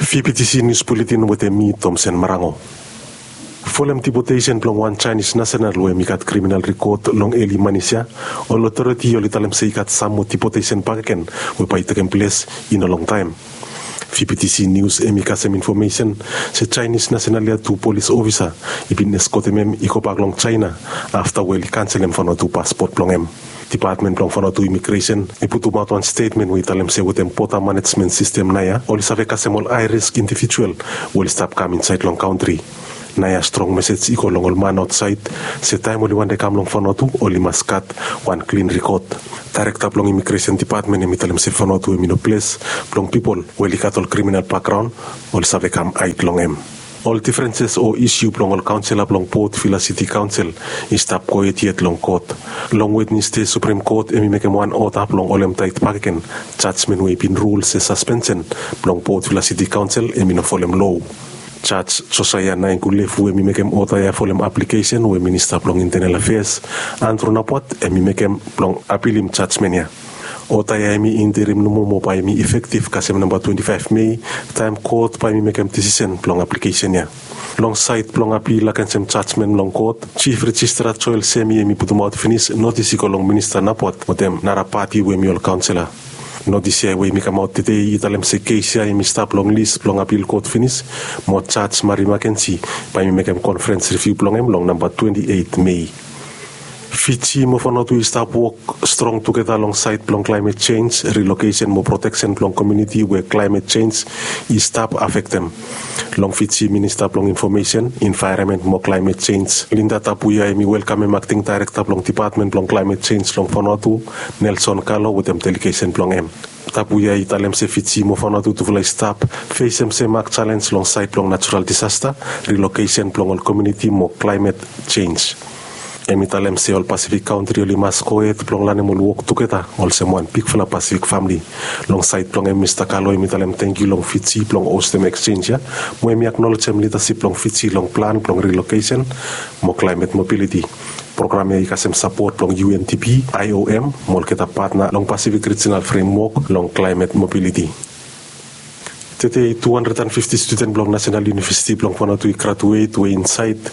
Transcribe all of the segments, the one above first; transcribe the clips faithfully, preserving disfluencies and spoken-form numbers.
Fibitisi nius buletin wetem mi, Tomsen Marango. Folem dipotesen blong wan Jaenis nasenal we hem i gat kriminal rikod long eli manis ya, ol otoriti oli talem se i gat sam moa dipotesen bakegen we bae i tekem ples i no longtaem. Fibitisi nius hem i kasem infomesen se Jaenis nasenal ya tu polis ofisa i bin eskotem hem i gobak long Jaena afta we oli kanselem Vanuatu paspot blong hem. Dipatmen blong Vanuatu imigresen i putumaot wan stetmen we i talem se wetem bota manejmen sistem naoia oli save kasem ol hae risk indivijual we oli stap kam insaed long kantri. Naoia strong mesej i go long ol man aotsaed se taem oli wantem kam long Vanuatu oli mas gat wan klin rikod. Daerekta blong imigresen dipatmen hem i talem se Vanuatu hem i no ples blong pipol we oli gat ol kriminal bakgraon oli save kam haed long hem. Ol difrenses o isiu blong ol kaonsela blong Port Vila Siti Kaonsel i stap gohed yet long kot. Long Wednesde Suprem Kot hem i mekem wan oda blong holem taet bakegen jajmen we i bin rul se saspensen blong Port Vila Siti Kaonsel hem i no folem loa. Jaj Josaia Naingkulefu hem i mekem oda ya folem aplikesen we Minista blong Intenel Afeas Andrew Napuat hem i mekem blong apilim jajmen ya. Oda ya hem i interim nomo mo bae hem i efektiv kasem namba twenti faef Mei, taem kot bae hem i mekem desisen blong aplikesen ya. Long saed blong apil agensem jajmen long kot, Jif Rejistra Joel Semi hem i putumaot finis notis i go long Minista Napuat wetem nara pati we hem i ol kaonsela. Notis ya we hem i kamaot tede i talem se kes ya hem i stap long lis blong apil kot finis, mo Jaj Mari Makensi bae hem i mekem konferens riviu blong hem long namba twenti eit Mei. Fiji mo Vanuatu i stap wok strong tugeta long saed blong klaemet jenj, rilokesen mo proteksen blong komuniti we klaemet jenj i stap afektem. Long Fiji, Minista blong Infomesen, Envaeronmen mo Klaemet Jenj, Linda Tabuya hem i welkamem akting daerekta blong Dipatmen blong Klaemet Jenj long Vanuatu, Nelson Kalo wetem delegesen blong hem. Tabuya i talem se Fiji mo Vanuatu tufala i stap fesem semak jalenj long saed blong najural disasta, rilokesen blong ol komuniti mo klaemet jenj. Hem i talem se ol Pasifik kantri oli mas gohed blong lanem ol wok tugeta olsem wan bigfala Pasifik famle. Long saed blong hem, Mista Kalo hem i talem tangkiu long Fiji blong hostem eksjenj ya, mo hem i aknolejem lidasip blong Fiji long plan blong rilokesen mo klaemet mobiliti. Program ya i kasem sapot blong U N D P, I O M mo olgeta patna long Pasifik Rijinal Fremwok long klaemet mobiliti. Tede tu handred an fifti studen blong Nasenal Univesiti blong Vanuatu i graduet we insaed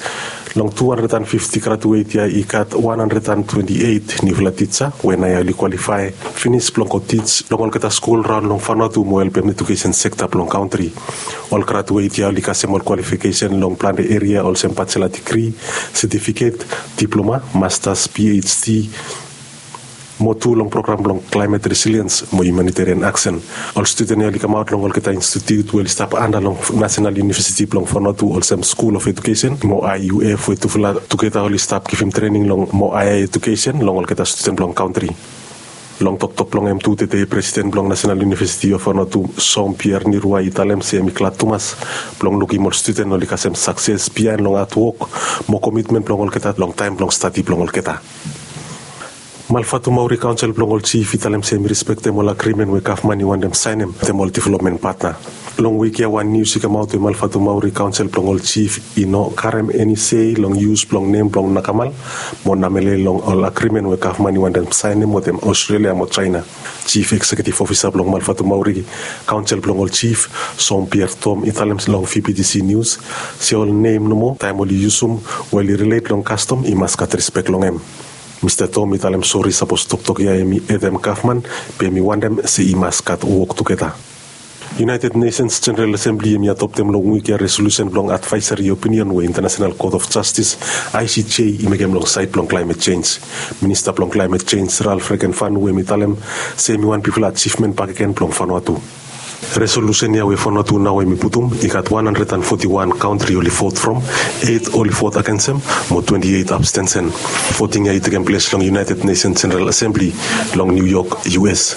long tu handred an fifti graduet ya i gat wan handred an twenti eit niufala tija we naoia oli kwalifae finis blong go tij long olgeta skul raon long Vanuatu mo helpem ejukesen sekta blong kantri. Ol graduet ya oli kasem ol kwalifikesen long plante eria olsem bajela digri, setifiket, diploma, mastas, P H D, mo tu long program blong klaemet resiliens mo humanitarian aksen. Ol studen ya oli kamaot long olgeta institiut we oli stap anda long Nasenal Univesiti blong Vanuatu olsem Skul of Edukesen mo I U F we tufala tugeta oli stap givim trening long mo haea edukesen long olgeta studen blong kantri. Long toktok blong hem tu tede, Presiden blong Nasenal Univesiti of Vanuatu, Jean Pierre Nirua, i talem se hem i glad tumas blong lukim ol studen oli kasem sakses biaen long hadwok mo komitmen blong olgeta long taem blong stadi blong olgeta. Malvatumauri Kaonsel blong ol Jif i talem se hem i rispektem ol agrimen we gavman i wantem saenem wetem ol developmen patna. Long wik ya wan nius i kamaot we Malvatumauri Kaonsel blong ol Jif i no karem eni sei long yus blong nem blong Nakamal mo Namele long ol agrimen we gavman i wantem saenem wetem Australia mo Jaena. Jif Ekseketif Ofisa blong Malvatumauri Kaonsel blong ol Jif, Jean Pierre Tom, i talem long V B T C News se ol nem nomo taem oli yusum we oli rilet long kastom i mas gat rispek long hem. Mista Tom i talem sori sapos toktok ya hem i hetem gavman, be hem i wantem se i mas gat wok tugeta. United Nations General Assembly hem i adoptem long wik ya resolusen blong advaesari opinion we International Court of Justice, I C J, i mekem long saed blong klaemet jenj. Minista blong klaemet jenj, Ralph Regenvanu, hem i talem se hem i wan bigfala ajivmen bakegen blong Vanuatu. Resolusen ya we Vanuatu nao hem i putum, i gat wan handred an foti wan kantri oli vot from, eit oli vot agensem, mo twenti eit abstensen. Voting ya i tekem ples long United Nations General Assembly long New York, U S.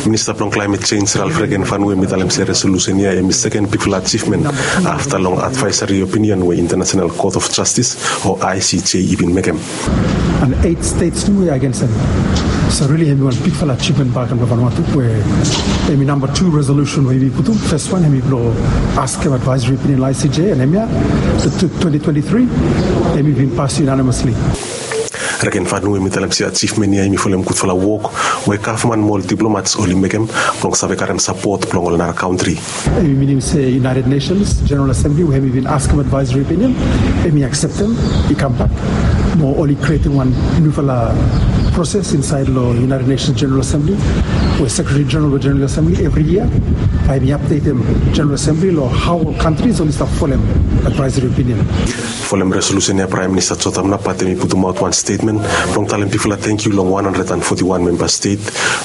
Minista blong klaemet jenj, Ralph Regenvanu, hem i talem se resolusen ya hem i seken bigfala ajivmen afta long advaesari opinion we International Court of Justice o I C J i bin mekem. And eight states tu we against him. So really hem i wan bigfala ajivmen bakegen blong Vanuatu we hem i namba tu resolusen we hem i putum. Fes wan hem i blong askem advaesari opinion long I C J, and hemia, the twenty twenty-three, hem i bin pas unanimously. Reken Fanu hemi talem se ajivmen ia hemi folem gudfala wok we gavman mo ol diplomats oli mekem blong save karem sapot blong ol nara kantri. Hemi minim se United Nations General Assembly we hemi bin askem advisory opinion, hemi akseptem i kambak. Mo oli krietem wan niufala proses insaed long United Nations General Assembly we Sekretari Jeneral blong General Assembly evri yia bae hemi apdetem General Assembly long hao ol kantris oli stap folem advisory opinion. Folem resolusen ia Praem Minista Jotam Napat hemi putumaot wan stetmen blong talem bigfala tangkiu long wan handred and foti wan memba stet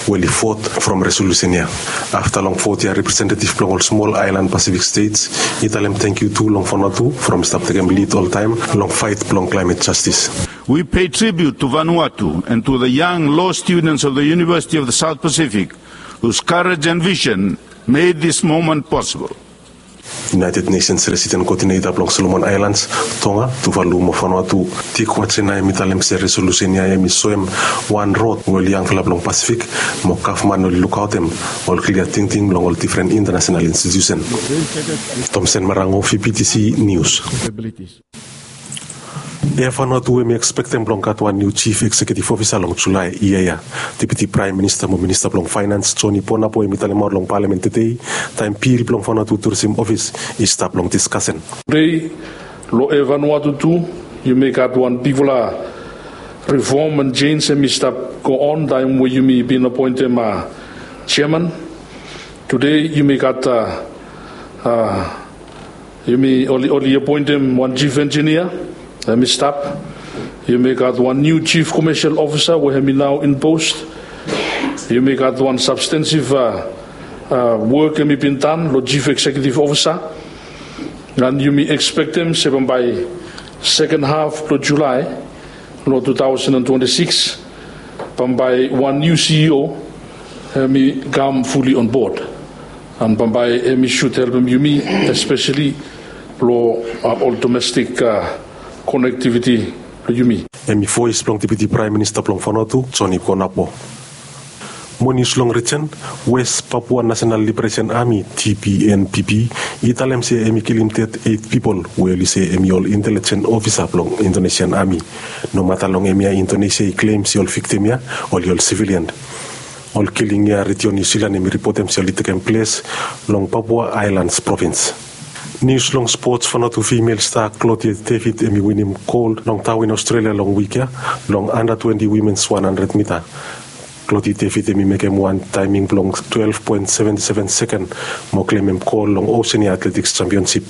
we oli vot from resolusen ia. Afta long vot ia representetiv blong ol smol aelan Pasifik stets i talem tangkiu tu long Vanuatu from i stap tekem lid oltaem long faet blong klaemet jastis. We pay tribute to Vanuatu and to the young law students of the University of the South Pacific whose courage and vision made this moment possible. United Nations Resident Coordinator blong Solomon Islands, Tonga, Tuvalu mo Vanuatu, Dick Watsena hemi talem se resolusen ia hemi soem wan rod we ol yangfala blong Pasifik mo gavman oli lukaotem ol klia tingting blong ol difren intanasenal institusen. Tomsen Marango, V P T C News. Air Vanuatu hemi ekspektem blong gat wan niu jif eksekiutiv ofisa long Julae yia ya. Deputi Praem Minista mo Minista blong Faenans, Joni Ponapo, hemi talemaot long Palamen tede taem bil blong Vanuatu Turisem Ofis i stap long diskasen. Tede long Air Vanuatu tu yumi gat wan bigfala reform and change hemi stap go on taem we yumi bin apoentem jeaman. Tede yumi gat a Yumi oli, oli apoentem wan jif enjinia, hemi stap. Yumi gat wan niu jif komesial ofisa we hemi nao in pos. Yumi gat wan sabstensiv a, a, wok hemi bin dan long jif eksekiutiv ofisa. An yumi ekspektem se bambae seken haf blong Julae long tu taosen an twenti sikis, bambae wan niu C E O hemi kam fuli onbod. An bambae hemi sud helpem yumi, espeseli long, a, ol domestik, a, konektiviti blong yumi. Hemi voes blong Deputi Praem Minista blong Vanuatu, Joni Ponapo. Mo nius long rijen, West Papua National Liberation Army, T P N P P, i talem se hemi kilim ded eit pipol we oli se hemi ol intelijen ofisa blong Indonesian Ami. Nomata long hemia Indonesia i klem se ol viktim ya oli ol sivilian. Ol kiling ya Redio Niu Silan hemi ripotem se oli tekem ples long Papua Aelans provins. Nius long spots, Vanuatu fimel sta Claudia David hemi winim gol long Darwin, Australia long wik ya long anda twenti wimens wan handred mita. Claudia David hemi mekem wan taeming blong twelef poen seventi seven seken mo klemem gol long Oceania Athletics Championship.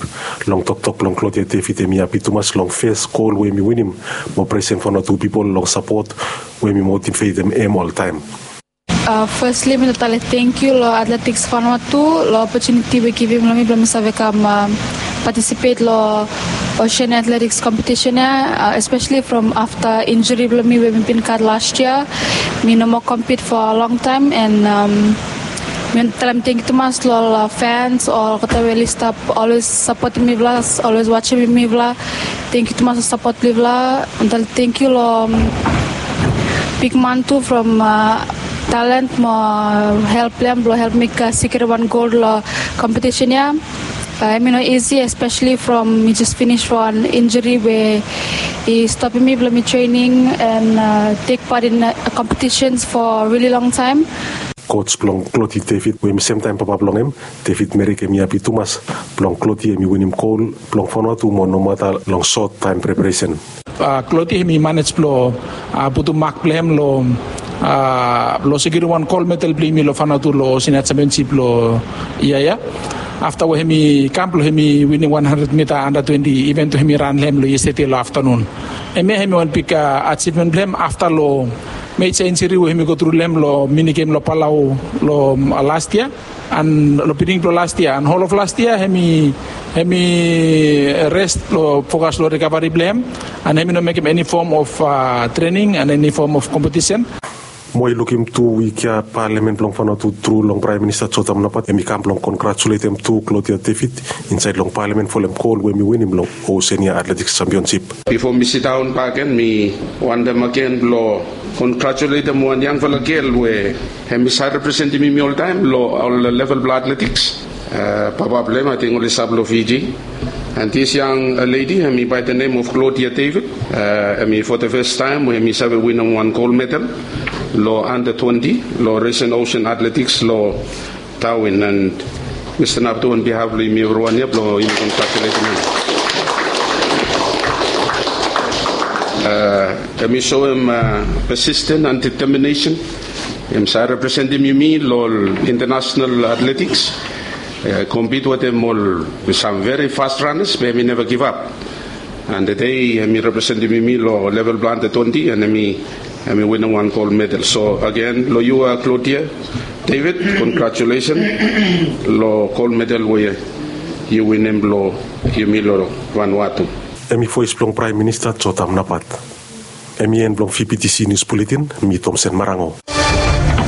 Long toktok blong Claudia David, hemi hapi tumas long fes gol we hemi winim mo presem Vanuatu pipol long sapot we hemi motivetem hem oltaem. A, fesli mi talem tangkiu long Athletics Vanuatu long opotuniti we givim long mi blong mi save kam, a, patisipet long Oceania Athletics kompetisen ya, a, espeseli from afta injuri blong mi we mi bin gat las yia. Mi no moa kompit for a long taem, an, am, mi talem tangkiu tumas long ol, a, fans, olgeta we oli stap olwes sapotem mifala, olwes wajem mifala. Tangkiu tumas long sapot blong yufala. Mi talem tangkiu long, am, bigman tu from, a, Thailand mo help blong hem blong helpem mi sikiur wan gol long kompetisen ya. A, hemi no isi, espeseli from mi jes finis from wan injuri we i stopem mi blong mi trening an, a, tek pat in, a, kompetisen for rili long taem. Koj blong Claudia David we hemi semtaem papa blong hem, David Merrick, hemi hapi tumas blong Claudia hemi winim gol blong Vanuatu mo nomata long sot taem preparesen. A, Claudia hemi manej blong, a, putum mak blong hem long, a, long sikiurim wan gol medal blong yumi long Vanuatu long Oceania Championship long yia ya. Afta we hemi kam blong hemi winim wan handred mita anda twenti iven tu hemi ran long hem long yestede long aftanun. Hemia hemi wan big, a, ajivmen blong hem afta long meja injuri we hemi gotru long hem long mini gem long Palau long, a, las yia. An long biginin blong las yia an hol of las yia hemi, hemi res blong fokas long rikavari blong hem, an hemi no mekem eni fom of, a, trening an eni fom of kompetisen. Mo i lukim tu wik ya Palamen blong Vanuatu tru long Praem Minista Jotam Napat hemi kam blong kongratuletem tu Claudia David insaed long Palamen folem gol we hemi winim long Oceania Athletics Championship. Bifo mi sidaon bakegen, mi wantem agen blong kongratuletem wan yangfala gel we hemi save representim yumi oltaem long ol level blong atletiks. A, papa blong hem ating oli stap long Fiji. And this young lady, hemi by the name of Claudia David, hemi for the first time we hemi save winim wan gold medal long under twenty long Russian Ocean Athletics long Darwin. And Mr Naptu, on behalf long yumi evriwan ya, blong yumi congratulating him. Hemi show him persistent and determination. Hemi save representim yumi long international athletics, compete wetem ol sam very fast runners, be hemi neva givap. And tede hemi representim yumi long level blong under twenty, and hemi winim wan gold medal. So agen long yu, Claudia David, congratulations long gold medal we yu winim long yumi long Vanuatu. Hemi voes blong Praem Minista Jotam Napat. Hemi en blong VBTC Nius Buletin. Mi Tomsen Marango.